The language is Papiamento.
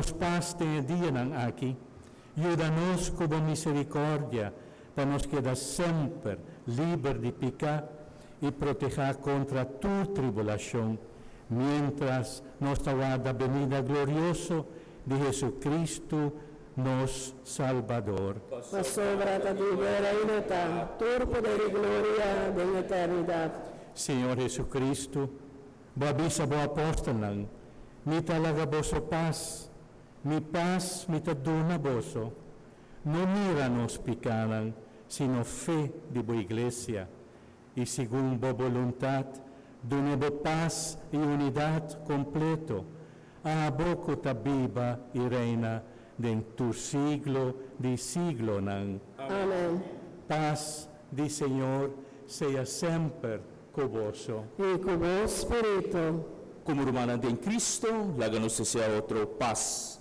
nos pas den e dianan aki. Yuda nos ku bo miserikòrdia, pa nos keda semper liber di piká i protehá kontra tur tribulashon, miéntras nos ta warda benida glorioso di Hesukristu, nos Salbador. Pasobra ta di bo e reino ta, tur poder i gloria den eternidat. Señor Hesukristu, bo a bisa bo apòstelnan, Mi ta laga boso pas, mi pas mi ta duna boso. No mira nos pikánan, sino fe di bo iglesia, i segun bo boluntat, dun'é bo pas i unidat kompleto, abo ku ta biba i reina den tur siglo di siglonan. Amèn. Pas di Señor sea semper ku boso. I ku bo spiritu. Komo rumannan den Kristu, laga nos deseá otro pas.